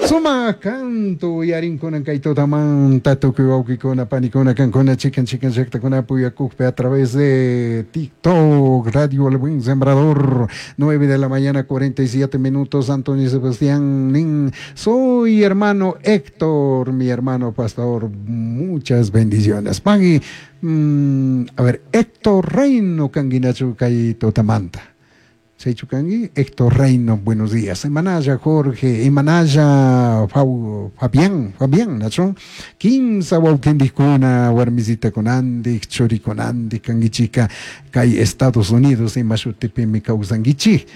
Sumak canto uyarinkunan kay tutamanta tukuy wawkikuna panikuna kankuna chikan chikan llaktakunapi uyakukpi a través de TikTok, Radio El Buen Sembrador, 9 de la mañana 47 minutos, Antonio Sebastián Nin, soy hermano Héctor, mi hermano pastor, muchas bendiciones. Pagui, a ver, Héctor Reino kanguinachu kay tutamanta. Chaychu kanki Héctor Reino, buenos días. Imanalla Jorge, imanalla Fabián, Fabián, nachu? Kimsa wawqintikuna, warmisitakunantik, churikunantik kankichika kay Estados Unidos ima shutipimi kawsankichik.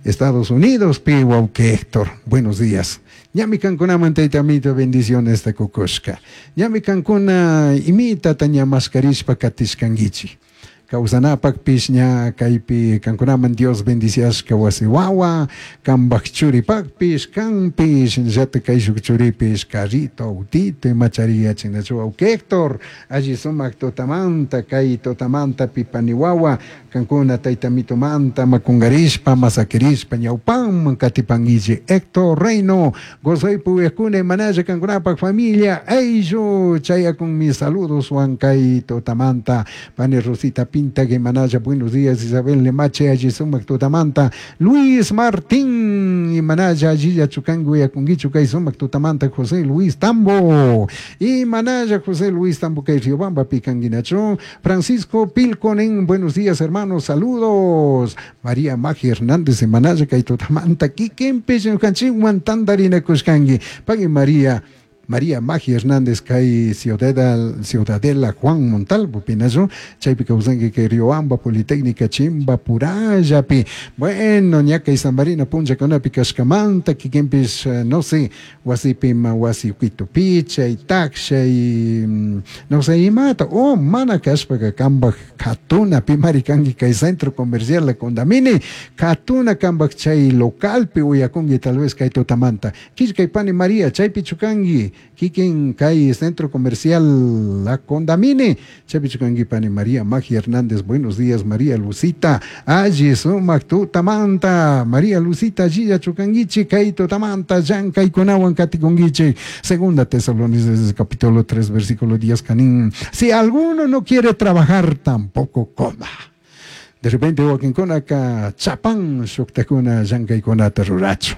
Estados Unidos pi wawqi Héctor, buenos días. Ñami kankunaman tayta amito bendiciones takukushka. Ñami kankuna imitata ña maskarishpa katishkankichik. Kawsanapakpish ña kaypi kankunaman Dios bendiciashka wasi wawa, kambak churipakpish, kanpish, llata kayshuk churipish, carrito, autito, imachari yachinachu wawqi Héctor, alli sumak tutamanta, kay tutamanta pipani wawa, kankuna tayta mitumanta makungarishpa, masakirishpa, ñawpanman katipankichik. Héctor Reino, gozaypi uyakuna imanalla kankunapak familia, ayllu, chayakun mis saludos wan kay tutamanta, pani Rosita Pinta, Imanaya, buenos días, Isabel Lemache, allí sumak tutamanta, Luis Martín, Imanaya, allí yachukangu, yakunguichu, kay sumak tutamanta, José Luis Tambo, Imanaya, José Luis Tambo, kay Riobamba, Picanguinacho, Francisco Pilconen, buenos días, hermanos, saludos, María Magi Hernández, Imanaya, kay tutamanta, Kikempe, Ñukanchikwan, tandarina kushkangi, Pagui María, María Magi Hernández, kay Ciudadela Juan Montalvo, Pinazo, chaypi kawsanki kay Riobamba, Politécnica, Chimba, Purayapi. Bueno, ña kay San Marino punllakunapi kashkamanta, kikinpish, no sé, wasipi ma wasi ukitupi, chay takshay, no sé, imata, o mana kashpaka kambaj katuna, pimari kanki kay centro comercial La Condamini, katuna kambaj chay localpi uyakunki tal vez kay tutamanta. Killkay pani María, chaypi chukanki, kikin kay centro comercial La Condamini, chaypi chukanki pani María Magi Hernández, buenos días María Lucita, alli sumak tutamanta, María Lucita, allilla chukankichik, kay tutamanta, llankaykunawan katikunkichik. Segunda Tesalonicenses capítulo 3 versículo 10, canín, si alguno no quiere trabajar, tampoco coma. De repente wakinkunaka chapan shuktakuna llankaykunata rurachu.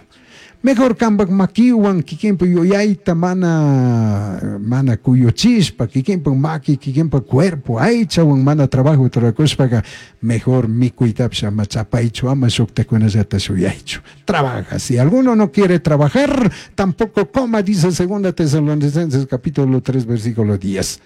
Mejor kambak makiwan kikinpa yuyayta mana kuyuchishpa, kikinpa maki, kikinpa cuerpo, aychawan mana trabajo rurakushpaka, mejor mikuytapish ama chapaychu, ama shuktakunallata shuyaychu. Trabaja. Si alguno no quiere trabajar, tampoco coma, dice Segunda Tesalonicenses capítulo 3 versículo 10.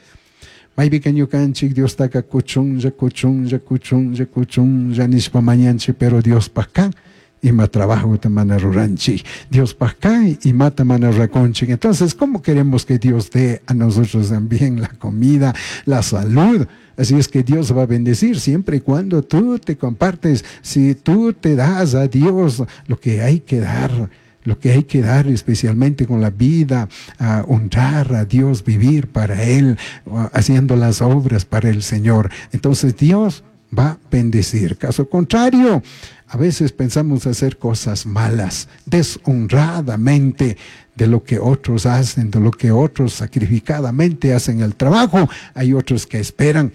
Maypika ñukanchik Diostaka kuchunlla, kuchunlla, kuchunlla, kuchunlla nishpa mañanchik, pero Diospaj kan ima trabajo mana ruranchik, Diospaj kan imata mana rurakunchik. Entonces, ¿cómo queremos que Dios dé a nosotros también la comida, la salud? Así es que Dios va a bendecir siempre y cuando tú te compartes, si tú te das a Dios lo que hay que dar, lo que hay que dar especialmente con la vida, a honrar a Dios, vivir para Él, haciendo las obras para el Señor. Entonces Dios va a bendecir. Caso contrario, a veces pensamos hacer cosas malas, deshonradamente, de lo que otros hacen, de lo que otros sacrificadamente hacen el trabajo. Hay otros que esperan,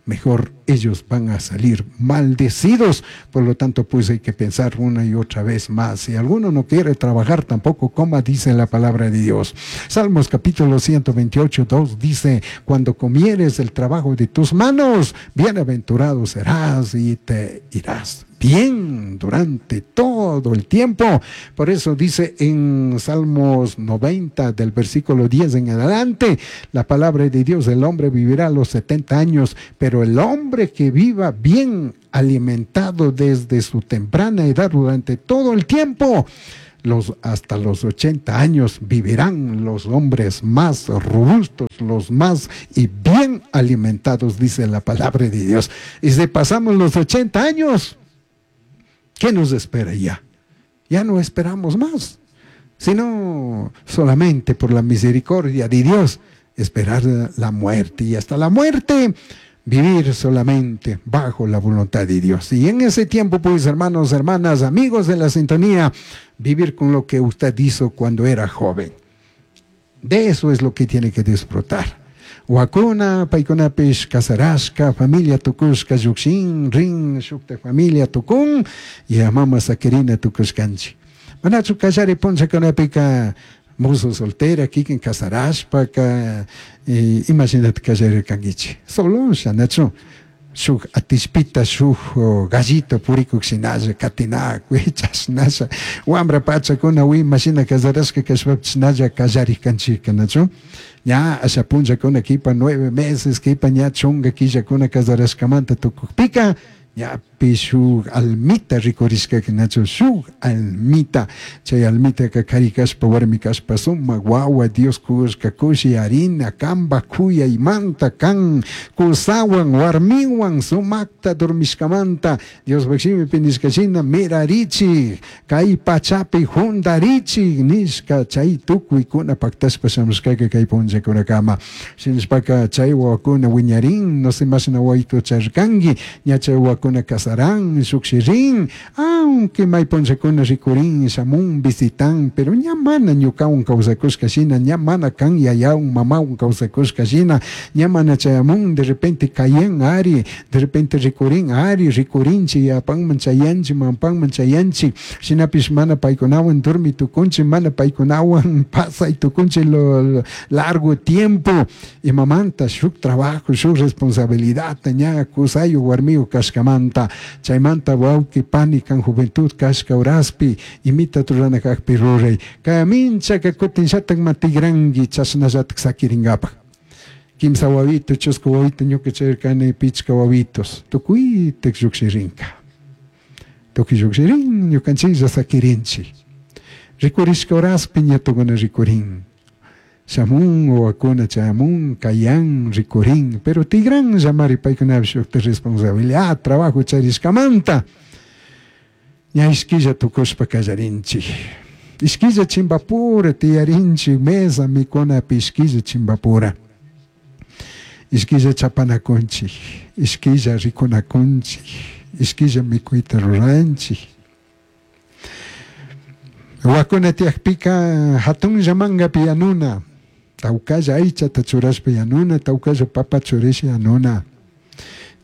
mejor ellos van a salir maldecidos. Por lo tanto, hay que pensar una y otra vez más. Si alguno no quiere trabajar, tampoco coma, dice la palabra de Dios. Salmos capítulo 128, 2 dice, cuando comieres el trabajo de tus manos, bienaventurado serás y te irás bien durante todo el tiempo. Por eso dice en Salmos 90, del versículo 10 en adelante, la palabra de Dios, el hombre vivirá a los 70 años, pero el hombre que viva bien alimentado desde su temprana edad durante todo el tiempo, hasta los 80 años vivirán los hombres más robustos, los más y bien alimentados, dice la palabra de Dios. Y si pasamos los 80 años, ¿qué nos espera ya? Ya no esperamos más, sino solamente por la misericordia de Dios, esperar la muerte. Y hasta la muerte Vivir solamente bajo la voluntad de Dios. Y en ese tiempo, pues, hermanos, hermanas, amigos de la sintonía, vivir con lo que usted hizo cuando era joven. De eso es lo que tiene que disfrutar. Wakuna, paykunapish kasarashka, familia tukushka, llukshin, rin, shukta familia tukun, y a mama sakirina tukushkanchik. Manachu kallari punllakunapika mozo soltera, kikin kasarashpaka, imashinata kallarirkankichik. Solosha, nachu, shuk atishpita, shuk gallito purikuk shinalla, katinakuy, chashnasha, wambra pachakuna, imashina kasarashka kashpapish shinalla kallarikanchika, nachu. Ña asha punllakuna kipa 9 meses, kipa ña chunga killakuna kasarashkamanta tukukpika, ñapi shuk almita rikurishkaka, nachu, shuk almita. Chay almitaka kari kashpa, warmi kashpa, sumak wawa Dios kushka kushi harina, kamba kuyaymanta kan kusawan, warmiwan sumakta dormishkamanta, Dios shimipi nishka shina mirarichik, kay pachapi jundarichik nishka, chay tukuykuna paktashpa shamushkaka kay punllakunakama. Shinashpaka chay wawakuna wiñarin, no sé mashna wawito charkanki, ña chay wawakuna kasaran, shukshirin, aunque may punllakuna rikurin, shamun, visitan, pero ña mana ñukawan kawsakushka shina, ña mana kan yayawan, mamawan kawsakushka shina, ña mana chayamun, de repente kayan ari, de repente rikurin ari, rikurinchi, yapanman chayanchi, mampanman chayanchi, shinapish mana paykunawan dormi tukunchi, mana paykunawan pasay tukunchi lo largo tiempo, imamanta shuk trabajo, shuk responsabilidad, ña kusayu warmiyu kashkamanta, chaymanta wawki pani kan juventud kashka uraspi, imita turana kakpi ruray, kaminchaka kutin shatak matigranki, chashnallatak sakirinkapak. Kimsa wawito, chusku wawito, ñuka chayrkani pichka wawitos, tukuytak llukshirinka. Tukuy llukshirin, ñukanchiklla sakirinchik. Rikurishka uraspi ña tukuna rikurin. Shamun, wawakuna chayamun, kayan, rikurin, pero tigran llamari paykunapish shukta responsabilidad, trabajo charishkamanta. Ña ishkilla tukushpa kallarinchik. Ishkilla chimbapura tiyarinchik, mesa mikunapi ishkilla chimbapura. Ishkilla chapanakunchik, ishkilla rikunakunchik, ishkilla mikuyta ruranchik. Wakuna tiyakpika hatunlla mangapi yanuna, tawkalla aychata churashpa yanuna, tawkalla papa churasha yanuna.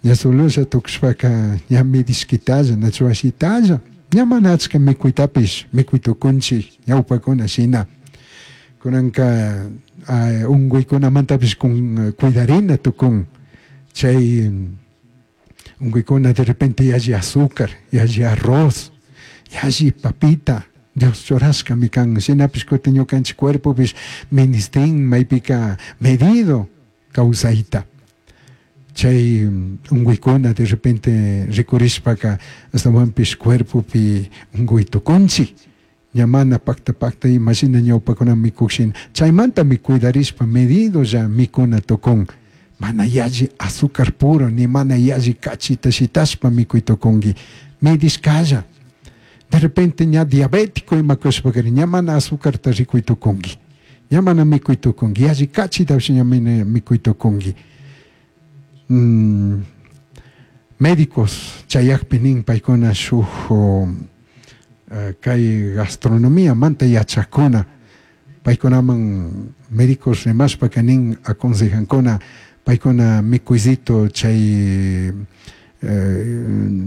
Ña solusha tukushpaka ña midishkitalla, nachu ashitalla, ña mana achka mikuytapish mikuytukunchik ñawpakuna shina. Kunanka unkuykunamantapish kun cuidarina tukun. Chay unkuykuna de repente yalli azúcar, yalli arroz, yalli papita, Dios churashkami kan, shinapish kutin ñukanchik cuerpopish ministin maypika medido kawsayta. Chay unkuykuna de repente rikurishpaka astawanpish cuerpopi unkuy tukunchik. Ña mana pakta pakta imashina ñawpakuna mikukshin, chaymantami cuidarishpa medido ya mikuna tukun. Mana yalli azúcar puro, ni mana yalli kachita shitashpa mikuy tukunki. Medishkalla. De repente ña diabético imakushpakari, ña mana azúcarta rikuy tukunki. Ña mana mikuy tukunki, yalli kachitapish ña mikuy tukunki. Médicos chayakpi nin paykuna shuk kay gastronomía manta yachakuna, paykunaman médicos rimashpaka nin aconsejankuna paykuna mikuycito chay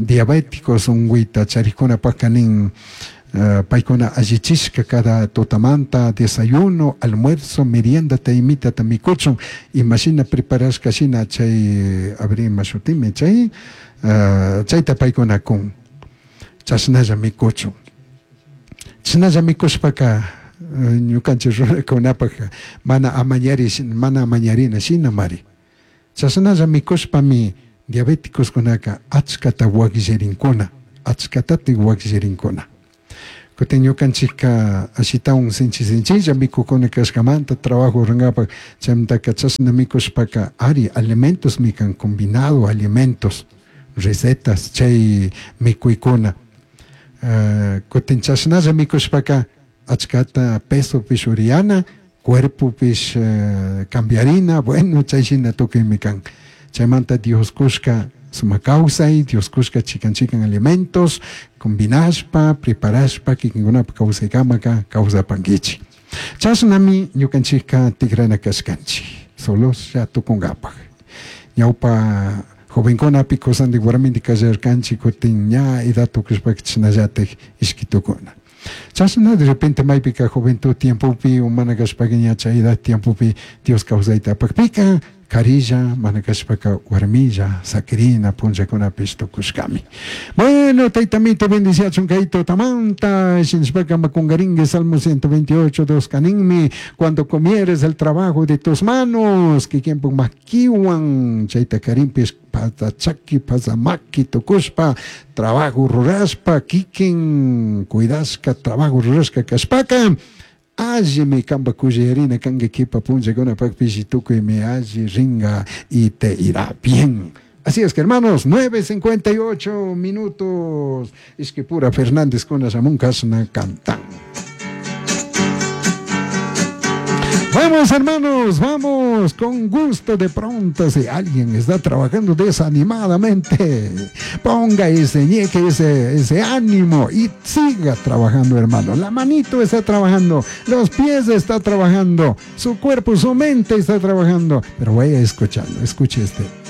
diabéticos unkuyta charikkunapaka nin paykuna allichishka cada tutamanta desayuno, almuerzo, merienda imitata mikuchun, imashina preparashka shina chay abri imashutimi chay chayta paykuna kun chashnalla mikuchun. Chashnalla mikushpaka ñukanchik runakunapak mana amañari, mana amañarina shina mari. Chashnalla mikushpami diabéticos kunaka achkata wakllirinkuna, achkatati wakllirinkuna. Kutin ñukanchikka ashitawan sinchi sinchilla mikukuna kashkamanta trabajo rurankapak chaymantaka chashna mikushpaka ari alimentos mikan combinado alimentos, recetas chay mikuykuna. Kutin chashnalla mikushpaka achkata pesopish uriyana, cuerpopish cambiarina, bueno, chay shina tukuymi kan. Chaymanta Dios kushka sumak kawsay, Dios kushka chikan chikan alimentos combinashpa, preparashpa kikinkunapak kawsaykamaka kawsapankichik. Chashnami ñukanchikka tikrana kashkanchik, soloslla tukunkapak. Ñawpa jovenkunapi kusandik warmindik kallarkanchik, kutin ña edad tukushpaka chashnallatik ishki tukuna. Chashna de repente maypika juventud tiempopi o mana kashpaka ña chay edad tiempopi Dios kawsayta apakpika karilla mana kashpaka warmilla sakirina punllakunapish tukushkami. Bueno, taytamito bendiciachun kay tutamanta, shinashpaka makungaringue Salmo 128, 2 kaninmi, cuando comieres el trabajo de tus manos, kikinpuk makiwan chayta karinpish patachaki pasamaki tukushpa trabajo rurashpa kikin cuidashka trabajo rurashka kashpaka allimi kanpak kushiyarina kanka kipa punllakunapakpish tukuymi alli ringa y te irá bien. Así es que hermanos, 9:58 minutos. Ishkipura Fernández con shamun kashna cantan. Vamos hermanos, vamos con gusto de pronto si alguien está trabajando desanimadamente, ponga ese ñeque, ese ánimo y siga trabajando hermano. La manito está trabajando, los pies está trabajando, su cuerpo, su mente está trabajando, pero vaya escuchando, escuche este.